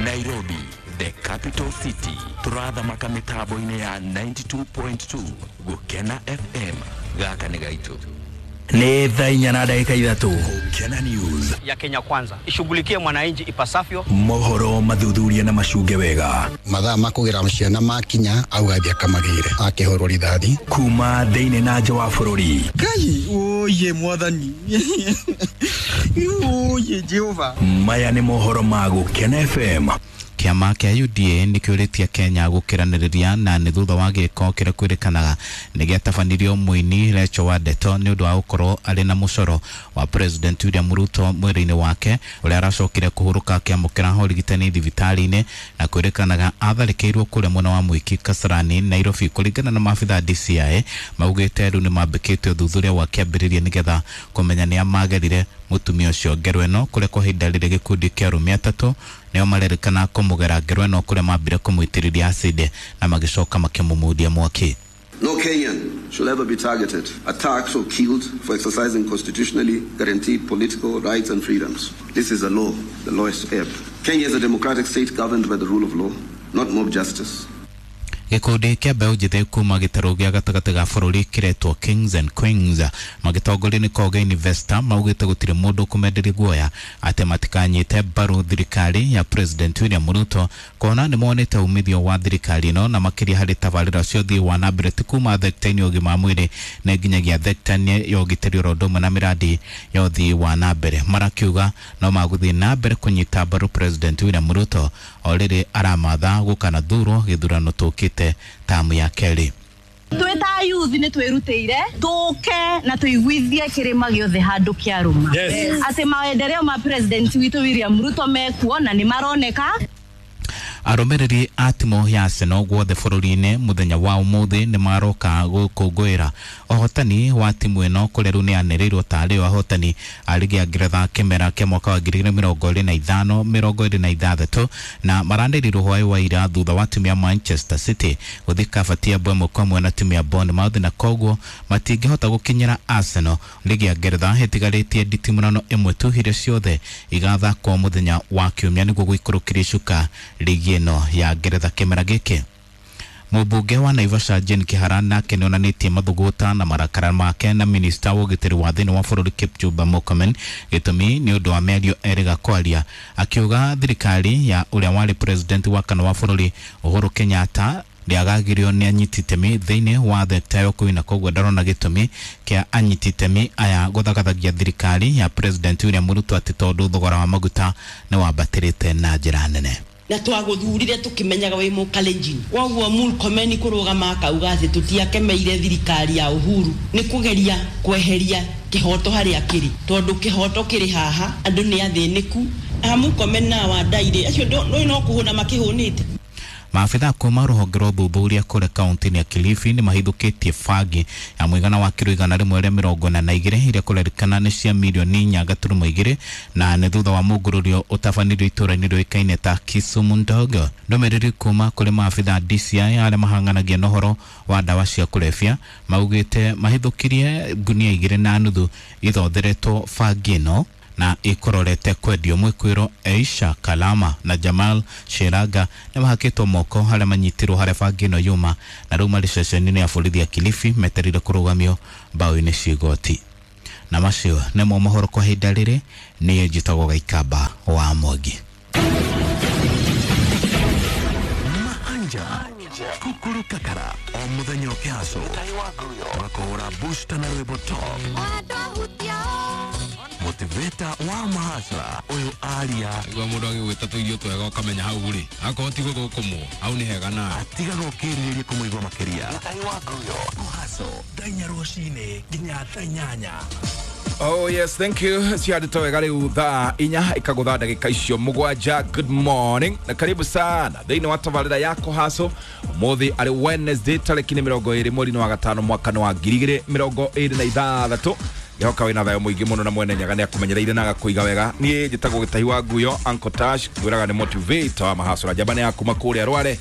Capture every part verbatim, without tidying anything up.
Nairobi, the capital city. Turathamaka mitambo-inĩ ya ninety-two point two Gukena F M. Gaka nĩ gaitũ. Nĩ thaa inya na ndagĩka ithatũ. Gukena News ya Kenya Kwanza ishughulikie mwananchi ipasavyo. Mohoro mathuthuria na macunge wega. Mathaa ma kũgĩra ciana makinya auga athiĩ akamagĩre akĩhũrwo rithathi. Kuma thĩinĩ na nja wa bũrũri. Ngai oye mwathani. Oye Jehova. Maya nĩ mohoro ma Gukena F M. Kĩama kĩa U D A nĩkĩũrĩtie Kenya gũkĩranĩrĩria na nĩ thutha wa gĩko kĩrĩa kwĩrĩkanaga nĩ gĩatabanirio mũini Rachel Wandeto nĩ ũndũ wa gũkorwo arĩ na mũcoro wa President William Ruto mwĩrĩ-inĩ wake ũrĩa aracokire kũhurũka akĩamũkĩra ũrigitani thibitarĩ-inĩ na kwĩrĩkanaga atharĩkĩirwo kũrĩa mwena wa Mwiki Kasarani Nairobi. Kũringana na maabitha D C I maugĩte rĩu nĩmambĩkĩte ũthuthuria wa kĩambĩrĩria nĩgetha kũmenya nĩa magerire mũtumia ũcio ngero ĩno kũrĩa kwa ihinda rĩrĩ gĩkundi kĩa arũme atatũ nĩo marerĩkana kũmũgera ngero ĩno kũrĩa mambire kũmũitĩrĩria acid na magĩcoka makĩmũmundia mwaki. No Kenyan should ever be targeted, attacked or killed for exercising constitutionally guaranteed political rights and freedoms. This is a law, the law is to ebb. Kenya is a democratic state governed by the rule of law, not mob justice. Gĩkundi kĩa mbeũ njĩthĩ kuma gĩtarũ gĩa gatagatĩ ga bũrũri kĩretwo Kings and Queens magĩtongorio nĩ Koge Investor maugĩte gũtirĩ mũndũ ũkũmenderia guoya atĩ matikanyite mbaru thirikari ya President William Ruto kuona nĩ monete umithio wa thirikari ĩno na makĩria harĩ tabarĩra cia ũthii wa na mbere ti kuma thekta-inĩ ya ũgima wa mwĩrĩ na nginyagia thekta-inĩ ya ũgitĩri oro ũndũ ũmwe na mĩradi ya ũthii wa na mbere. Marakiuga no magũthiĩ na mbere kũnyita mbaru President William Ruto o rĩrĩ aramatha gũkanathurwo gĩthurano tũkĩte tamu ya kerĩ. Twĩ ta youth nĩ twĩrutĩire tũke na tũiguithie kĩrĩma gĩothe handũ kĩarũma atĩ maendeleo ma President witũ William Ruto mekuo na nĩ maroneka. Arũmĩrĩri a timu ya Arsenal guothe bũrũri-inĩ mũthenya wa ũmũthĩ nĩ maroka gũkũngũĩra ũhotani wa timu ĩno kũrĩa rĩu nĩ yanĩrĩirwo tarĩ o ahotani a rigi ya Ngeretha kĩmera kĩa mwaka wa ngiri igĩrĩ mĩrongo ĩrĩ na ithano mĩrongo ĩrĩ na ithathatũ na maranĩrĩirwo hwaĩ wa ira thutha wa timu ya Manchester City gũthiĩ kabatia mbwe ĩmwe kwa ĩmwe na timu ya Bournemouth na koguo matingĩhota gũkinyĩra Arsenal. Rigi ya Ngeretha ĩtigarĩtie nditimũrano ĩmwe tu iria ciothe igathakwo mũthenya wa kiumia nĩguo gũikũrũkĩria icuka rigi ĩno ya Ngeretha kĩmera gĩkĩ. Mũmbunge wa Naivasha Jane Kihara nake nĩonanĩtie mathũgũta na marakara make na minista wa ũgitĩri wa thĩinĩ wa bũrũri Kipchumba Murkomen gĩtũmi nĩ ũndũ wa mĩario erĩga kwaria akiuga thirikari ya ũrĩa warĩ president wa kana wa bũrũri Uhuru Kenyatta ndĩagagĩrio nĩ anyiti itemi thĩinĩ wa thekta ya ũkui na koguo ndarona gĩtũmi kĩa anyiti itemi aya gũthagathagia thirikari ya President William Ruto atĩ tondũ thogora wa maguta nĩ wambatĩrĩte na njĩra nene. Na twaguthurire tukimenyaga wi mukalenjin koguo Murkomen kurugama akauga ati tutiakemeire thirikari ya Uhuru ni kugeria kweheria kihoto haria kiri tondu kihoto kiri haha andu ni athiniku a Murkomen na Wandaire acio ndo no kuhuna makihunite. Maabitha kuma rũhonge rwa ũthuthuria kũrĩa kaunti-inĩ ya Kilifi nĩ mahithũkĩtie bangi ya mũigana wa kiro igana rĩmwe rĩa mĩrongo ĩna na igĩrĩ iria kũrerĩkana nĩ cia mirioni inya gaturumo igĩrĩ na nĩ thutha wa mũngũrũrio ũtabanirio itũũra-inĩ rĩũĩkaine ta Kisumu Ndogo. Ndũmĩrĩri kuma kũrĩ maabitha D C I arĩa mahang'anagia na ũhoro wa ndawa cia kũrebia maugĩte mahithũkirie ngunia igĩrĩ na nuthu ithotheretwo bangi ĩno na ikororete kwendio. Mwĩkwĩro Aisha Kalama na Jamal Sheraga nĩ mahakĩtwo moko harĩa manyitirwo harĩa bangi ĩno yuma na rĩu marĩ ceceni-inĩ ya borithi ya Kilifi metereire kũrũgamio mbaũ-inĩ cia igoti. Na macio nĩmo mohoro kwa ihinda rĩrĩ. Niĩ njĩtagwo Gaikamba wa Mwangi. Mahanja Kukuru Kakara o mũthenya ũkĩhaco makũhũra booster na rwĩmbo top motivator wa mahasra uyu aria niguo mundu agigwita tuirio twega ukamenya hau ri akorwo ti guthukumwo hau ni hega nawe atigaga ukiririria kumuigua makiria kuhaco thaa inya rucini nginya thaa inyanya. Oh yes, thank you. Ciandĩtwo wega rĩu thaa inya ikagũtha ndagĩka icio mũgwanja. Good morning na karibu sana thĩinĩ wa tabarĩra ya Kũhaco. Ũmũthĩ arĩ Wednesday tarĩki nĩ mĩrongo ĩrĩ mweri-inĩ wa gatano mwaka wa ngiri igĩrĩ mĩrongo ĩrĩ na ithathatũ. Ngehoka wĩna thayũ mũingĩ mũno na mwene Nyaga nĩ akũmenyereire na agakũiga wega. Niĩ njĩtagwo Gĩtahi wa Nguyo, Uncle Tash, ngwĩraga nĩ motivator wa mahasũra njamba nĩ ya kuma kũrĩa Rware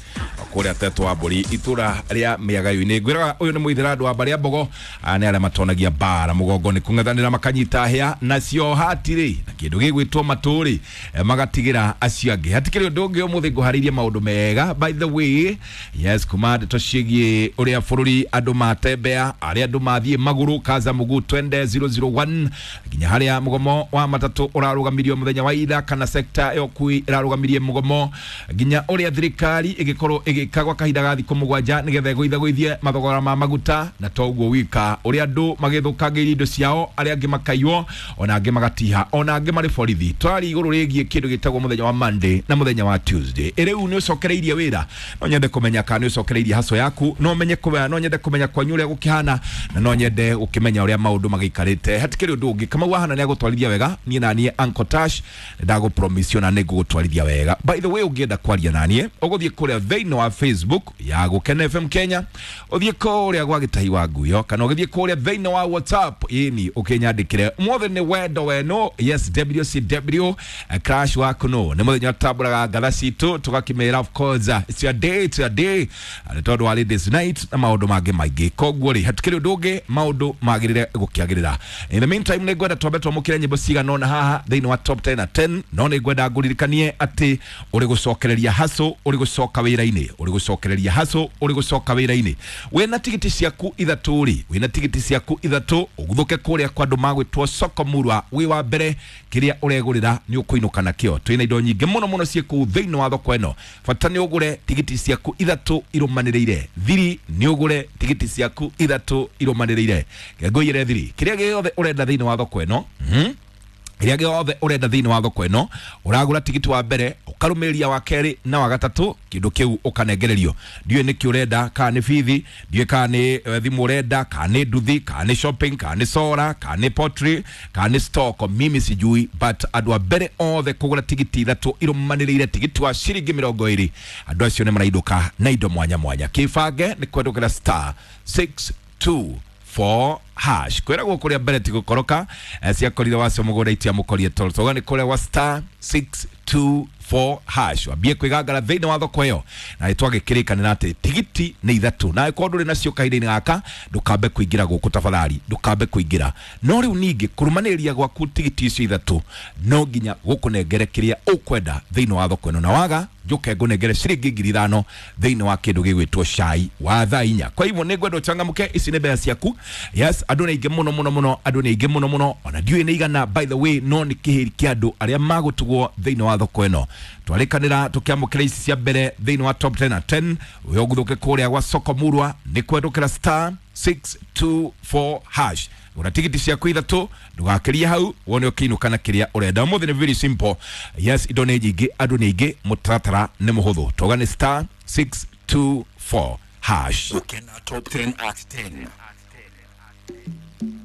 Kũrĩa Tetwa wa Mbũri itũra rĩa Mĩagayo-inĩ. Ngwĩraga ũyũ nĩ mũithĩra andũ wa mbarĩ ya Mbogo, nĩ arĩa matonagia mbara mũgongo nĩ kũng'ethanĩra makanyita hĩa nacio hatirĩ na kĩndũ gĩgwĩtwo matũrĩ magatigĩra acio angĩ. Hatikĩrĩ ũndũ ũngĩ ũmũthĩ ngũharĩirie maũndũ mega by the way. Yes, kuma ndeto ciĩgiĩ ũrĩa bũrũri andũ matembea, arĩa andũ mathiĩ magũrũ kaza mũguu twende zero zero one nginya harĩa mũgomo wa matatũ ũrarũgamirio mũthenya wa ira, kana sekta ya ũkui ĩrarũgamirie mũgomo, nginya ũrĩa thirikari ĩgĩkorwo ĩgĩka gwa kahinda ga thikũ mũgwanja nĩgetha ĩgũithagũithie mathogora ma maguta, na to ũguo wika ũrĩa andũ magĩthũkangĩirie indo ciao, arĩa angĩ makaiywo, ona angĩ magatiha, ona angĩ marĩ borithi. Twari igũrũ rĩgiĩ kĩndũ gĩtagwo mũthenya wa Monday na mũthenya wa Tuesday. Rĩu nĩ ũcokereirie wĩra, no nyende kũmenya kana nĩ ũcokereirie haso yaku, no menye kũmenya, no nyende kũmenya kwanyu ũrĩa gũkĩhana, na no nyende gũkĩmenya ũrĩa maũndũ magĩikarĩte. Hatikĩrĩ ũndũ ũngĩ, Kamau wahana nĩ agũtwarithia wega, niĩ na niĩ Uncle Tash ndagũpromise ona nĩ ngũgũtwarithia wega. By the way, ũngĩenda kwaria na niĩ ũgũthiĩ kũrĩa thĩinĩ wa Facebook ya Gũkena F M Kenya, ũthiĩ kũrĩa gwa Gĩtahi wa Nguyo, kana ũgĩthiĩ kũrĩa thĩinĩ wa WhatsApp ĩni ũkĩnyandĩkĩre ũmũthĩ nĩ wendo weno. Yes, W C W crash waku no nĩ mũthenya tũtambũraga ngatha citũ tũgakĩmera of course it's your day, it's your day, nĩ tondũ wa ladies night na maũndũ mangĩ maingĩ. Koguo rĩ hatikĩrĩ ũndũ ũngĩ, maũndũ magĩrĩre gũkĩagĩrĩra. In the meantime nĩ ngwenda twambe twamũkĩre nyĩmbo cigana ũna haha thĩinĩ wa top ten na ten, no nĩ ngwenda ngũririkanie atĩ ũrĩ gũcokereria haso, ũrĩ gũcoka wĩra-inĩ, ũrĩ gũcokereria haso, ũrĩ gũcoka wĩra-inĩ. Wĩna tigiti ciaku ithatũ rĩ, wĩna tigiti ciaku ithatũ ũguthũke kũrĩa kwa andũ magwĩtwo Soko Murwa, wĩ wa mbere kĩrĩa ũregũrĩra nĩ ũkũinũka nakĩo. Twĩna indo nyingĩ mũno mũno ciĩ kũu thĩinĩ wa thoko ĩno. Bata nĩ ũgũre tigiti ciaku ithatũ irũmanĩrĩire. Thiri nĩ ũgũre tigiti ciaku ithatũ irũmanĩrĩire. Ngũiyĩre thiri kĩrĩa gĩothe ũrenda thĩinĩ wa thoko ĩno, mm-hmm. Kĩrĩa gĩothe ũrenda thĩinĩ wa thoko ĩno, ũragũra tigiti wa mbere, ũkarũmĩrĩria wa kerĩ na wa gatatũ, kĩndũ kĩu ũkanengererio. Ndiũĩ nĩkĩ ũrenda, kana nĩ bithi, ndiũĩ kana nĩ thimũ ũrenda, kana nĩ nduthi, kana nĩ shopping, kana nĩ sora, kana nĩ pottery, kana nĩ stock, mimi sijui, but andũ a mbere othe kũgũra tigiti ithatũ irũmanĩrĩire tigiti wa ciringi mĩrongo ĩrĩ, andũ acio nĩ maraindũka na indo mwanya mwanya. Kĩbange nĩ kwendũkĩra star six two four hash. Kwĩragwo kũrĩa mbere ti gũkoroka, ciakorire wacio mũgũnda itiamũkorie toro. Toga nĩ kũrĩa wa star six two four hash. Wambie kwĩgangara thĩinĩ wa thoko ĩyo, na nĩ twagĩkĩrĩkanĩra atĩ tigiti nĩ ithatũ, na angĩkorwo ndũrĩ nacio kahinda-inĩ gaka ndũkambe kũingĩra gũkũ tafadhali, ndũkambe kũingĩra. No rĩu ningĩ kũrũmanĩrĩria gwaku tigiti icio ithatũ no nginya gũkũnengere kĩrĩa ũkwenda thĩinĩ wa thoko ĩno, na waga njoke ngũnengere ciringi ngiri ithano thĩinĩ wa kĩndũ gĩgwĩtwo cai wa thaa inya. Kwa hivyo nĩ ngwenda ũchangamke, ici nĩ mbeca ciaku. Yes, andũ nĩ aingĩ mũno mũno mũno, andũ nĩ aingĩ mũno mũno, ona ndiũĩ nĩ igana by the way, no nĩ kĩhĩri kĩa andũ arĩa magũtugwo thĩinĩ wa thoko ĩno. Twarĩkanĩra tũkĩamũkĩra ici cia mbere thĩinĩ wa top ten na ten, ũyũ ũguthũke kũrĩa gwa Soko Murwa nĩ kwendũkĩra star six two four hash. Gũra tigiti ciaku ithatũ, ndũgakĩrie hau, wone ũkĩinũka na kĩrĩa ũrenda. Ũmũthĩ nĩ very simple. Yes, indo nĩ nyingĩ, andũ nĩ aingĩ, mũtaratara nĩ mũhũthũ. Toga nĩ star six two four hash. Gũkena top ten at ten.